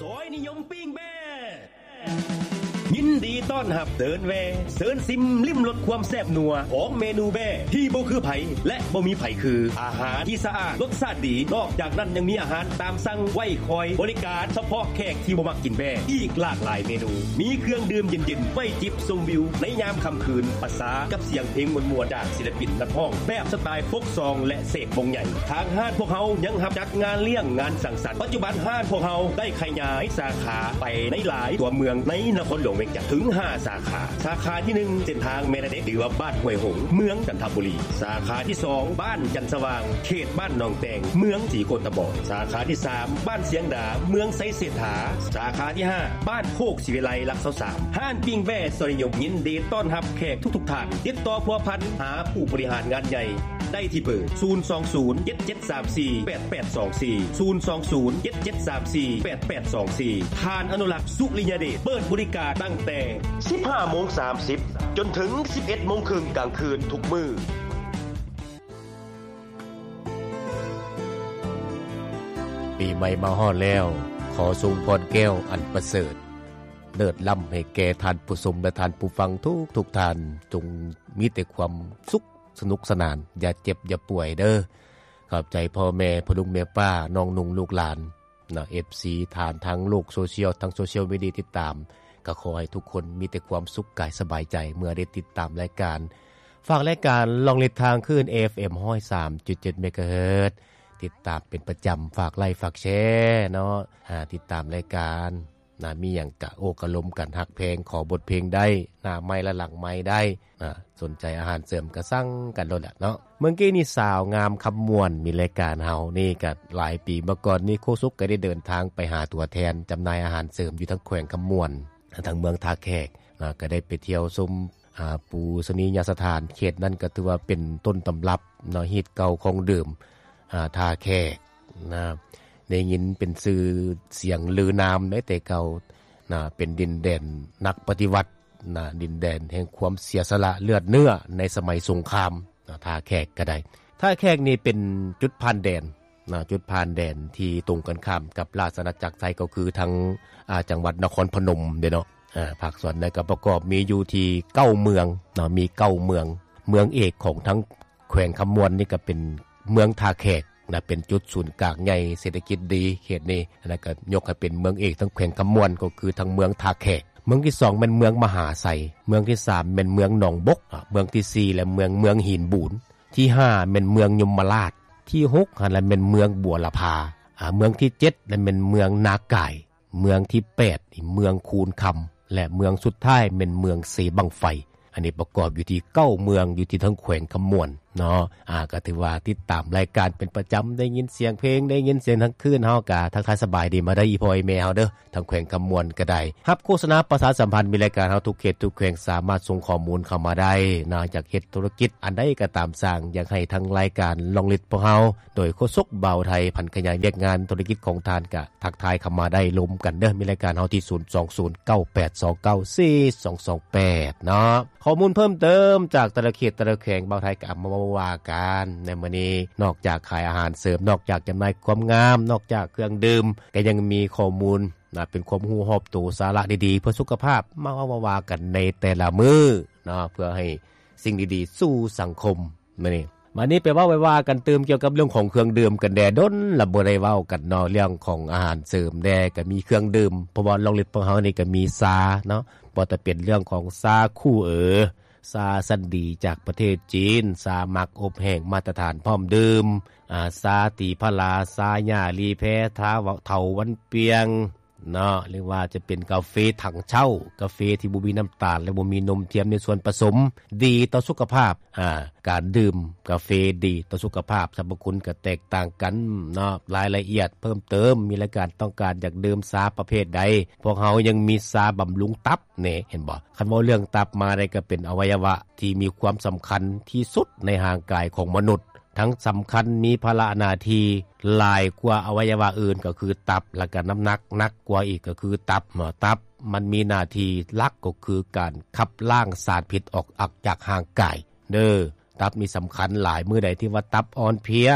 ຊອຍນິຍົມປີ້ງແບ້ ຍິນດີຕ້ອນຮັບເດີນແວ່ ເຊີນຊິມລິມລົດຄວາມແຊບນົວຂອງເມນູແບ້ທີ່ບໍ່ຄືໃຜ ແລະ ບໍ່ມີໃຜຄື ອາຫານທີ່ສະອາດ ລົດຊາດດີ ນອກຈາກນັ້ນຍັງມີອາຫານຕາມສັ່ງໄວ້ຄອຍບໍລິການສະເພາະແຂກທີ່ບໍ່ມັກກິນແບ້ ອີກຫຼາກຫຼາຍເມນູ ມີເຄື່ອງດື່ມເຢັນໆ ໄວ້ຈິບຊົມວິວໃນຍາມຄ່ຳຄືນ ປະສານກັບສຽງເພງມ່ວນໆ ຈາກສິລະປິນນັກຮ້ອງແບບສະຕາຍໂຟກຊອງ ແລະ ເສກວົງໃຫຍ່. ທາງຮ້ານພວກເຮົາຍັງຮັບຈັດງານລ້ຽງງານສັງສັນ. ປັດຈຸບັນຮ້ານພວກເຮົາໄດ້ຂະຫຍາຍສາຂາໄປໃນຫຼາຍຕົວເມືອງໃນນະຄອນຫຼວງວຽງຈັນເຖິງຫ້າສາຂາ. ສາຂາທີໜຶ່ງ ເສັ້ນທາງແມ່ນາເດັກ ຫຼືວ່າບ້ານຫ້ວຍຫົງ ເມືອງຈັນທະບູລີ. ສາຂາທີສອງ ບ້ານຈັນສະຫວ່າງ ເຂດບ້ານໜອງແຕງ ເມືອງສີໂຄດຕະບອງ. ສາຂາທີສາມ ບ້ານຊຽງດາ ເມືອງໄຊເສດຖາ. ສາຂາທີຫ້າ ບ້ານໂຄກສີວິໄລ ຫຼັກຊາວສາມ. ຮ້ານປີ້ງແບ້ຊອຍນິຍົມຍິນດີຕ້ອນຮັບແຂກທຸກໆທ່ານ. ຕິດຕໍ່ພົວພັນຫາຜູ້ບໍລິຫານງານໃຫຍ່ ໄດ້ທີ່ເບີ ສູນສອງສູນ ເຈັດເຈັດສາມສີ່ ແປດແປດສອງສີ່ ສູນສອງສູນ ເຈັດເຈັດສາມສີ່ ແປດແປດສອງສີ່. ທ່ານອະນຸລັກ ສຸລິຍະເດດ ເປີດບໍລິການຕັ້ງແຕ່ສິບຫ້າໂມງສາມສິບ ຈົນເຖິງສິບເອັດໂມງເຄິ່ງກາງຄືນທຸກມື້. ປີໃໝ່ມາຮອດແລ້ວ, ຂໍສົ່ງພອນແກ້ວອັນປະເສີດ ເລີດລ້ຳໃຫ້ແກ່ທ່ານຜູ້ຊົມ ແລະ ທ່ານຜູ້ຟັງທຸກໆທ່ານ, ຈົ່ງມີແຕ່ຄວາມສຸກ ສະໜຸກສະໜານ, ຢ່າເຈັບຢ່າປ່ວຍເດີ້. ຂອບໃຈພໍ່ແມ່ ພໍ່ລຸງແມ່ປ້າ ນ້ອງນຸ່ງລູກຫຼານເນາະ, ເອັຟຊີທ່ານທາງໂລກໂຊຊຽວ ທາງໂຊຊຽວມີເດຍຕິດຕາມ, ກໍຂໍໃຫ້ທຸກຄົນມີແຕ່ຄວາມສຸກກາຍສະບາຍໃຈ ເມື່ອໄດ້ຕິດຕາມລາຍການ. ຝາກລາຍການລອງລິດທາງຄື້ນ ເອຟເອັມ ຮ້ອຍສາມຈຸດເຈັດ ເມກາເຮີດ, ຕິດຕາມເປັນປະຈຳ, ຝາກໄລ ຝາກແຊເນາະ, ອາ, ຕິດຕາມລາຍການ. ນະ ມີຫຍັງກະໂອ້ກະລົມກັນ ຮັກແພງ ຂໍບົດເພງໄດ້ ໜ້າໄມລະຫຼັງໄມໄດ້ ນະ ສົນໃຈອາຫານເສີມກະສັ່ງກັນໂລດແຫຼະເນາະ. ເມື່ອກີ້ນີ້ສາວງາມຄຳມ່ວນ ມີລາຍການເຮົານີ້ກະຫຼາຍປີມາກ່ອນນີ້ ໂຄສົກກະໄດ້ເດີນທາງໄປຫາຕົວແທນຈຳໜ່າຍອາຫານເສີມຢູ່ທາງແຂວງຄຳມ່ວນ ທາງເມືອງທ່າແຂກ ນະ ກະໄດ້ໄປທ່ຽວຊົມ ອາ ປູຊະນີຍະສະຖານ ເຂດນັ້ນກະຖືວ່າເປັນຕົ້ນຕຳລັບເນາະ ຮີດເກົ່າຂອງເດີມ ອາ ທ່າແຂກນະ ໄດ້ຍິນເປັນຊື່ສຽງລືນາມໄດ້ແຕ່ເກົ່ານະ ເປັນດິນແດນນັກປະຕິວັດນະ ດິນແດນແຫ່ງຄວາມເສຍສະຫຼະເລືອດເນື້ອໃນສະໄໝສົງຄາມນະ ທ່າແຂກກະໄດ້. ທ່າແຂກນີ້ເປັນຈຸດຜ່ານແດນນະ ຈຸດຜ່ານແດນທີ່ຕົງກັນຂ້າມກັບລາຊະອານາຈັກໄທ ກໍຄືທາງ ອາ ຈັງຫວັດນະຄອນພະນົມເດ້ເນາະ. ອາ ພາກສ່ວນໃນກໍປະກອບມີຢູ່ທີ່ເກົ້າເມືອງເນາະ ມີເກົ້າເມືອງ. ເມືອງເອກຂອງທາງແຂວງຄຳມ່ວນນີ້ກໍເປັນເມືອງທ່າແຂກນະ ເປັນຈຸດສູນກາງໃຫຍ່ເສດຖະກິດດີເຂດນີ້ນະ ກໍຍົກໃຫ້ເປັນເມືອງເອກທາງແຂວງຄຳມ່ວນ ກໍຄືທາງເມືອງທ່າແຂກ. ເມືອງທີສອງແມ່ນເມືອງມະຫາໄຊ, ເມືອງທີສາມແມ່ນເມືອງໜອງບົກ, ອາ ເມືອງທີສີ່ແລະເມືອງ ເມືອງຫີນບູນ, ທີຫ້າແມ່ນເມືອງຍົມມະລາດ, ທີຫົກຫັ້ນລະແມ່ນເມືອງບົວລະພາ, ອາ ເມືອງທີເຈັດລະແມ່ນເມືອງນາກາຍ. ເມືອງທີແປດນີ້ເມືອງຄູນຄຳ ແລະ ເມືອງສຸດທ້າຍແມ່ນເມືອງເຊບັ້ງໄຟ. ອັນນີ້ປະກອບຢູ່ທີ່ເກົ້າເມືອງ ຢູ່ທີ່ທາງແຂວງຄຳມ່ວນເນາະ. ອາ ກໍຖືວ່າຕິດຕາມລາຍການເປັນປະຈຳ ໄດ້ຍິນສຽງເພງ ໄດ້ຍິນສຽງທັງຄືນ ເຮົາກໍທັກທາຍສະບາຍດີມາໄດ້ ອີ່ພໍ່ອີ່ແມ່ເຮົາເດີ້ ທາງແຂວງຄຳມ່ວນກໍໄດ້. ຮັບໂຄສະນາປະຊາສຳພັນ ມີລາຍການເຮົາທຸກເຂດທຸກແຂວງ ສາມາດສົ່ງຂໍ້ມູນເຂົ້າມາໄດ້ເນາະ. ຢາກເຮັດທຸລະກິດອັນໃດກໍຕາມສ້າງ ຢາກໃຫ້ທາງລາຍການລອງລິດພວກເຮົາ ໂດຍໂຄສົກບ່າວໄທ ຜັນຂະຫຍາຍວຽກງານທຸລະກິດຂອງທ່ານ ກະ ທັກທາຍເຂົ້າມາໄດ້ ລົມກັນເດີ້ ມີລາຍການເຮົາທີ່ ສູນສອງສູນ ເກົ້າແປດສອງເກົ້າ ສີ່ສອງສອງແປດ ເນາະ. ຂໍ້ມູນເພີ່ມເຕີມຈາກແຕ່ລະເຂດແຕ່ລະແຂວງ ບ່າວໄທກໍເອົາມາເວົ້າວ່າກັນໃນມື້ນີ້. ນອກຈາກຂາຍອາຫານເສີມ ນອກຈາກຈຳໜ່າຍຄວາມງາມ ນອກຈາກເຄື່ອງດື່ມ ກໍຍັງມີຂໍ້ມູນນະ ເປັນຄວາມຮູ້ຮອບໂຕ ສາລະດີໆ ເພື່ອສຸຂະພາບ ມາເວົ້າມາວ່າກັນໃນແຕ່ລະມື້ເນາະ ເພື່ອໃຫ້ສິ່ງດີໆສູ່ສັງຄົມ. ມື້ນີ້ ບາດນີ້ໄປເວົ້າໄປວ່າກັນຕື່ມກ່ຽວກັບເລື່ອງຂອງເຄື່ອງດື່ມກັນແດ່. ດົນລະບໍ່ໄດ້ເວົ້າກັນເນາະ ເລື່ອງຂອງອາຫານເສີມແດ່ ກະມີເຄື່ອງດື່ມ ເພາະວ່າລອງລິດພວກເຮົານີ້ກະມີຊາເນາະ ບໍ່ວ່າຈະເປັນເລື່ອງຂອງຊາຄູ່ເອີ ຊາຊັ້ນດີຈາກປະເທດຈີນ ຊາໝາກອົບແຫ້ງມາດຕະຖານພ້ອມດື່ມ ອາ ຊາຕີພະລາ ຊາຫຍ້າລີແພ ຊາເຖົາວັນປຽງ ເນາະ ຫຼືວ່າຈະເປັນກາເຟຖັງເຊົ່າ ກາເຟທີ່ບໍ່ມີນ້ຳຕານ ແລະ ບໍ່ມີນົມທຽມໃນສ່ວນປະສົມ ດີຕໍ່ສຸຂະພາບ. ອາ ການດື່ມກາເຟດີຕໍ່ສຸຂະພາບ ສັບພະຄຸນກໍແຕກຕ່າງກັນເນາະ. ລາຍລະອຽດເພີ່ມເຕີມ ມີລາຍການຕ້ອງການຢາກດື່ມຊາປະເພດໃດ ພວກເຮົາຍັງມີຊາບຳລຸງຕັບແນ່ ເຫັນບໍ່? ຄັນເວົ້າເລື່ອງຕັບມາໄດ້ ກໍເປັນອະໄວຍະວະທີ່ມີຄວາມສຳຄັນທີ່ສຸດໃນຮ່າງກາຍຂອງມະນຸດ. ທັງສຳຄັນ ມີພາລະໜ້າທີ່ຫຼາຍກວ່າອະໄວຍະວະອື່ນ ກໍຄືຕັບ ແລ້ວກໍນ້ຳໜັກໜັກກວ່າອີກ ກໍຄືຕັບເນາະ. ຕັບມັນມີໜ້າທີ່ຫຼັກ ກໍຄືການຂັບລ້າງສານພິດອອກ ອອກຈາກຮ່າງກາຍເດີ້. ຕັບນີ້ສຳຄັນຫຼາຍ ມື້ໃດທີ່ວ່າຕັບອ່ອນເພຍ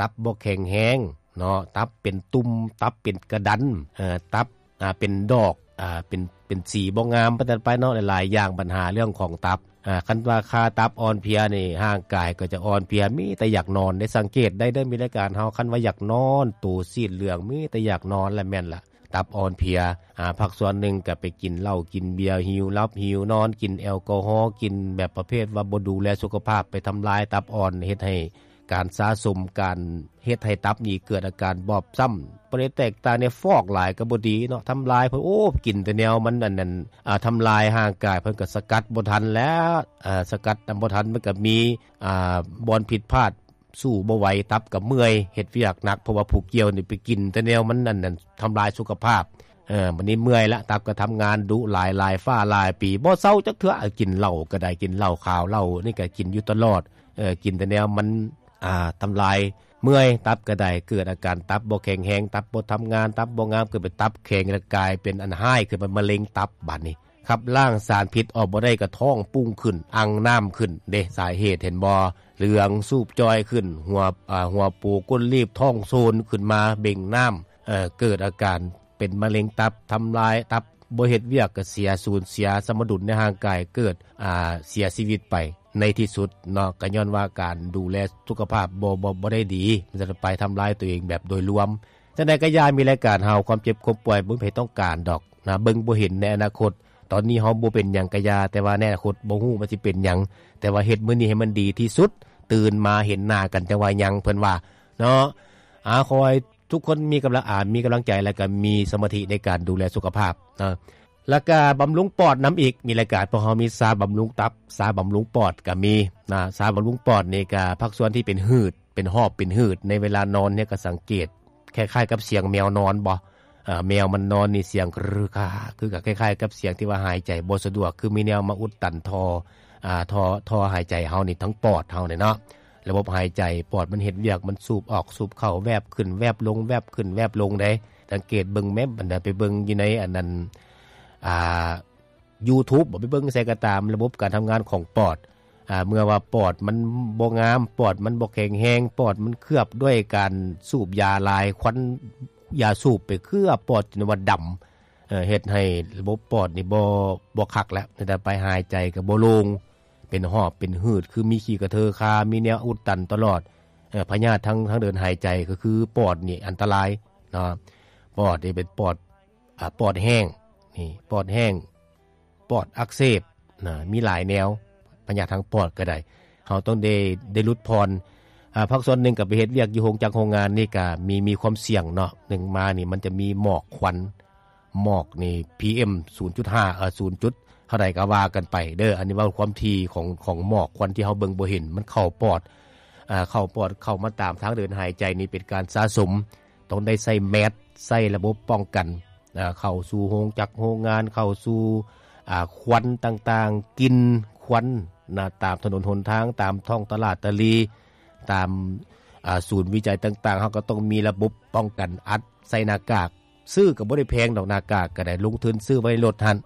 ຕັບບໍ່ແຂງແຮງເນາະ ຕັບເປັນຕຸ່ມ ຕັບເປັນກະດັນ ເອີ ຕັບ ອ່າ ເປັນດອກ ອ່າ ເປັນ ເປັນສີບໍ່ງາມປານນັ້ນໄປເນາະ ຫຼາຍໆຢ່າງ ບັນຫາເລື່ອງຂອງຕັບ. ອ່າ ຄັນວ່າຄ່າຕັບອ່ອນເພຍນີ້ ຮ່າງກາຍກໍຈະອ່ອນເພຍ ມີແຕ່ຢາກນອນເດ້. ສັງເກດໄດ້ເດີ ມີລາຍການເຮົາ ຄັນວ່າຢາກນອນ ໂຕຊີດເຫຼືອງ ມີແຕ່ຢາກນອນລະ ແມ່ນລະ ຕັບອ່ອນເພຍ. ອ່າ ພາກສ່ວນໜຶ່ງກໍໄປກິນເຫຼົ້າ ກິນເບຍ ຫິວຫຼັບຫິວນອນ ກິນແອລກໍຮໍ ກິນແບບປະເພດວ່າບໍ່ດູແລສຸຂະພາບ ໄປທຳລາຍຕັບອ່ອນ ເຮັດໃຫ້ ການສະສົມ ການເຮັດໃຫ້ຕັບນີ້ເກີດອາການບອບຊ້ຳ. ບໍ່ໄດ້ແຕກຕ່າງໃນຟອກຫຼາຍກໍບໍ່ດີເນາະ ທຳລາຍເພິ່ນ. ໂອ້ ກິນແຕ່ແນວມັນອັນນັ້ນ ອ່າ ທຳລາຍຮ່າງກາຍ ເພິ່ນກໍສະກັດບໍ່ທັນແລ້ວ. ອ່າ ສະກັດນຳບໍ່ທັນ ມັນກໍມີ ອ່າ ບ່ອນຜິດພາດ ສູ້ບໍ່ໄຫວ ຕັບກໍເມື່ອຍ ເຮັດວຽກໜັກ ເພາະວ່າຜູ້ກ່ຽວນີ້ໄປກິນແຕ່ແນວມັນອັນນັ້ນ ທຳລາຍສຸຂະພາບ. ເອີ ບັດນີ້ເມື່ອຍລະ ຕັບກໍທຳງານດຸຫຼາຍ ຫຼາຍຟ້າຫຼາຍປີ ບໍ່ເຊົາຈັກເທື່ອ. ເອີ ກິນເຫຼົ້າກໍໄດ້ ກິນເຫຼົ້າຂາວເຫຼົ້ານີ້ກໍກິນຢູ່ຕະຫຼອດ. ເອີ ກິນແຕ່ແນວມັນ ອ່າ ທຳລາຍ ເມື່ອຍ ຕັບກໍໄດ້ ເກີດອາການຕັບບໍ່ແຂງແຮງ ຕັບບໍ່ທຳງານ ຕັບບໍ່ງາມ ເກີດເປັນຕັບແຂງ ແລ້ວກາຍເປັນອັນຮ້າຍ ຄືເປັນມະເຮັງຕັບບາດນີ້. ຂັບລ້າງສານພິດອອກບໍ່ໄດ້ ກໍທ້ອງປຸ້ງຂຶ້ນ ອັ່ງນ້ຳຂຶ້ນເດ້. ສາເຫດເຫັນບໍ່? ເຫຼືອງ ສູບຈ່ອຍຂຶ້ນ ຫົວ ອ່າ ຫົວໂປ ກົ້ນລີບ ທ້ອງໂຊນຂຶ້ນມາ ເບັ່ງນ້ຳ ເກີດອາການເປັນມະເຮັງຕັບ ທຳລາຍຕັບ ບໍ່ເຮັດວຽກກໍເສຍ ສູນເສຍສະມະດຸນໃນຮ່າງກາຍ ເກີດ ອ່າ ເສຍຊີວິດໄປໃນທີ່ສຸດເນາະ. ກໍຍ້ອນວ່າການດູແລສຸຂະພາບບໍ່ ບໍ່ ບໍ່ໄດ້ດີ ມັນຈະໄປທຳລາຍຕົວເອງແບບໂດຍລວມ. ຈັ່ງໃດກໍຢ່າ ມີລາຍການເຮົາ ຄວາມເຈັບຄວາມປ່ວຍ ບໍ່ມີໃຜຕ້ອງການດອກນະ ເບິ່ງບໍ່ເຫັນໃນອະນາຄົດ. ຕອນນີ້ເຮົາບໍ່ເປັນຫຍັງກໍຢ່າ ແຕ່ວ່າໃນອະນາຄົດບໍ່ຮູ້ມັນຊິເປັນຫຍັງ. ແຕ່ວ່າເຮັດມື້ນີ້ໃຫ້ມັນດີທີ່ສຸດ ຕື່ນມາເຫັນໜ້າກັນຈັ່ງວ່າຍັງ ເພິ່ນວ່າເນາະ. ອາ ຂໍໃຫ້ ທຸກຄົນມີກຳລັງ ອາ ມີກຳລັງໃຈ ແລະກໍມີສະມາທິໃນການດູແລສຸຂະພາບເນາະ. ແລ້ວກໍບຳລຸງປອດນຳອີກ ມີລາຍການ ພວກເຮົາມີຊາບຳລຸງຕັບ ຊາບຳລຸງປອດກໍມີນະ. ຊາບຳລຸງປອດນີ້ກໍພາກສ່ວນທີ່ເປັນຫືດ ເປັນຫອບເປັນຫືດ ໃນເວລານອນນີ້ກໍສັງເກດ ຄ້າຍໆກັບສຽງແມວນອນບໍ່? ເອີ ແມວມັນນອນນີ້ສຽງ ຄື ຄື ຄື ຄ້າຍໆກັບສຽງທີ່ວ່າຫາຍໃຈບໍ່ສະດວກ ຄືມີແນວມາອຸດຕັນທໍ່ ອ່າ ທໍ່ ທໍ່ຫາຍໃຈເຮົານີ້ ທັງປອດເຮົານີ້ເນາະ. ລະບົບຫາຍໃຈ ປອດມັນເຮັດວຽກ ມັນສູບອອກສູບເຂົ້າ ແວບຂຶ້ນແວບລົງ ແວບຂຶ້ນແວບລົງເດ້. ສັງເກດເບິ່ງແມ້ ບັນດາໄປເບິ່ງຢູ່ໃນອັນນັ້ນ ອ່າ ຢູທູບບໍ ໄປເບິ່ງໃສກໍຕາມ ລະບົບການທຳງານຂອງປອດ ອ່າ ເມື່ອວ່າປອດມັນບໍ່ງາມ ປອດມັນບໍ່ແຂງແຮງ ປອດມັນເຄືອບດ້ວຍການສູບຢາຫຼາຍ ຄວັນຢາສູບໄປເຄືອບປອດ ຈົນວ່າດຳ ເຮັດໃຫ້ລະບົບປອດນີ້ບໍ່ ບໍ່ຄັກແລ້ວ ແຕ່ໄປຫາຍໃຈກໍບໍ່ໂລ່ງ ເປັນຫອບເປັນຫືດ ຄືມີຂີ້ກະເທີຄາ ມີແນວອຸດຕັນຕະຫຼອດ. ພະຍາດທາງ ທາງເດີນຫາຍໃຈ ກໍຄືປອດນີ້ອັນຕະລາຍເນາະ. ປອດນີ້ເປັນປອດ ອາ ປອດແຫ້ງ ນີ້ ປອດແຫ້ງ ປອດອັກເສບນະ ມີຫຼາຍແນວ ພະຍາດທາງປອດກໍໄດ້ ເຮົາຕ້ອງໄດ້ ໄດ້ຫຼຸດຜ່ອນ. ອາ ພາກສ່ວນໜຶ່ງກໍໄປເຮັດວຽກຢູ່ໂຮງຈັກໂຮງງານ ນີ້ກໍມີ ມີຄວາມສ່ຽງເນາະ. ໜຶ່ງມານີ້ມັນຈະມີໝອກຄວັນ ໝອກນີ້ ພີເອັມ ສູນຈຸດຫ້າ ເອີ ສູນຈຸດເທົ່າໃດກໍວ່າກັນໄປເດີ. ອັນນີ້ເວົ້າຄວາມຖີ່ຂອງ ຂອງໝອກຄວັນທີ່ເຮົາເບິ່ງບໍ່ເຫັນ ມັນເຂົ້າປອດ ເຂົ້າປອດ ເຂົ້າມາຕາມທາງເດີນຫາຍໃຈນີ້ ເປັນການສະສົມ ຕ້ອງໄດ້ໃສ່ແມສ ໃສ່ລະບົບປ້ອງກັນ ເຂົ້າສູ່ໂຮງຈັກໂຮງງານ ເຂົ້າສູ່ ອາ ຄວັນຕ່າງໆ ກິ່ນຄວັນນະ ຕາມຖະໜົນຫົນທາງ ຕາມທ້ອງຕະຫຼາດຕະຫຼີ່ ຕາມ ອາ ສູນວິໄຈຕ່າງໆ ເຮົາກໍຕ້ອງມີລະບົບປ້ອງກັນ ອັດໃສ່ໜ້າກາກ. ຊື້ກໍບໍ່ໄດ້ແພງດອກ ໜ້າກາກກໍໄດ້ ລົງທຶນຊື້ໄວ້ໃນລົດຫັ້ນ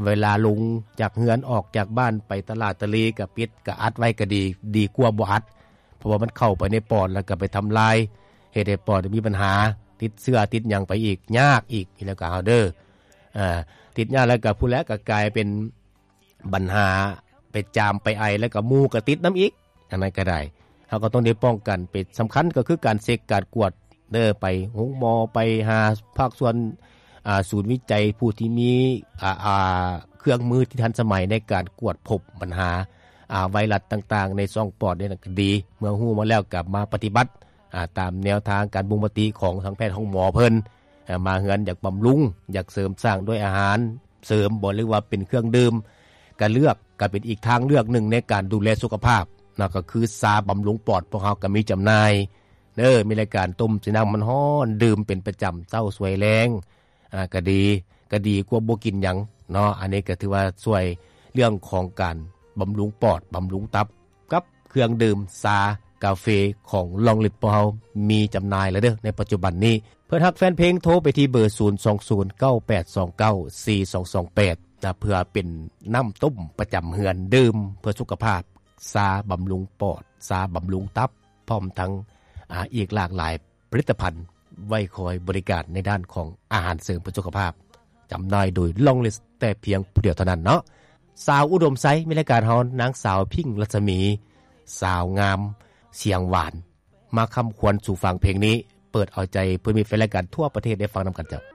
ເວລາລົງຈາກເຮືອນ ອອກຈາກບ້ານໄປຕະຫຼາດຕະຫຼີ່ ກໍປິດ ກໍອັດໄວ້ກໍດີ ດີກວ່າບໍ່ອັດ ເພາະວ່າມັນເຂົ້າໄປໃນປອດ ແລ້ວກໍໄປທຳລາຍ ເຮັດໃຫ້ປອດມີບັນຫາ ຕິດເຊື້ອຕິດຫຍັງໄປອີກ ຍາກອີກ ແລ້ວກໍເຮົາເດີ ອາ ຕິດຍາກ ແລ້ວກໍພຸ້ນແຫຼະ ກໍກາຍເປັນບັນຫາ ໄປຈາມໄປໄອ ແລ້ວກໍໝູ່ກໍຕິດນຳອີກ ອັນນັ້ນກໍໄດ້. ເຮົາກໍຕ້ອງໄດ້ປ້ອງກັນ ເປັນສຳຄັນກໍຄືການເຊັກການກວດເດີ ໄປໂຮງໝໍ ໄປຫາພາກສ່ວນ ອາ ສູນວິໄຈ ຜູ້ທີ່ມີ ອາ ອາ ເຄື່ອງມືທີ່ທັນສະໄໝໃນການກວດພົບບັນຫາ ອາ ໄວຣັສຕ່າງໆ ໃນຊ່ອງປອດນີ້ນະ ກໍດີ. ເມື່ອຮູ້ມາແລ້ວກໍມາປະຕິບັດ ອາ ຕາມແນວທາງການບົ່ງມະຕິຂອງທາງແພດໂຮງໝໍເພິ່ນ. ອາ ມາເຮືອນຢາກບຳລຸງ ຢາກເສີມສ້າງດ້ວຍອາຫານເສີມບໍ ຫຼືວ່າເປັນເຄື່ອງດື່ມ ກໍເລືອກ ກໍເປັນອີກທາງເລືອກໜຶ່ງໃນການດູແລສຸຂະພາບເນາະ ກໍຄືຊາບຳລຸງປອດ ພວກເຮົາກໍມີຈຳໜ່າຍເດີ ມີລາຍການຕົ້ມໃສ່ນ້ຳມັນຮ້ອນ ດື່ມເປັນປະຈຳເຊົ້າສວຍແລງ ອາ ກໍດີ ກໍດີກວ່າບໍ່ກິນຫຍັງເນາະ. ອັນນີ້ກໍຖືວ່າຊ່ວຍເລື່ອງຂອງການບຳລຸງປອດ ບຳລຸງຕັບ ກັບເຄື່ອງດື່ມຊາກາເຟຂອງລອງລິດພວກເຮົາມີຈຳໜ່າຍແລ້ວເດີໃນປັດຈຸບັນນີ້. ເພື່ອນຮັກແຟນເພງໂທໄປທີ່ເບີ ສູນສອງສູນ ເກົ້າແປດສອງເກົ້າ ສີ່ສອງສອງແປດ ນະ ເພື່ອເປັນນ້ຳຕົ້ມປະຈຳເຮືອນດື່ມເພື່ອສຸຂະພາບ ຊາບຳລຸງປອດ ຊາບຳລຸງຕັບ ພ້ອມທັງ ອາ ອີກຫຼາກຫຼາຍ ຜະລິດຕະພັນໄວ້ຄອຍບໍລິການໃນດ້ານຂອງອາຫານເສີມເພື່ອສຸຂະພາບ. ຈຳໜ່າຍໂດຍ Long List ແຕ່ພຽງຜູ້ດຽວເທົ່ານັ້ນເນາະ. ສາວອຸດົມໄຊ ໃນລາຍການເຮົາ ນາງສາວ ພິງ ລັດສະໝີ ສາວງາມສຽງຫວານ ມາຄຳຂວັນສູ່ຟັງເພງນີ້ ເປີດເອົາໃຈເພື່ອມີແຟນລາຍການທົ່ວປະເທດໄດ້ຟັງນຳກັນເຈົ້າ.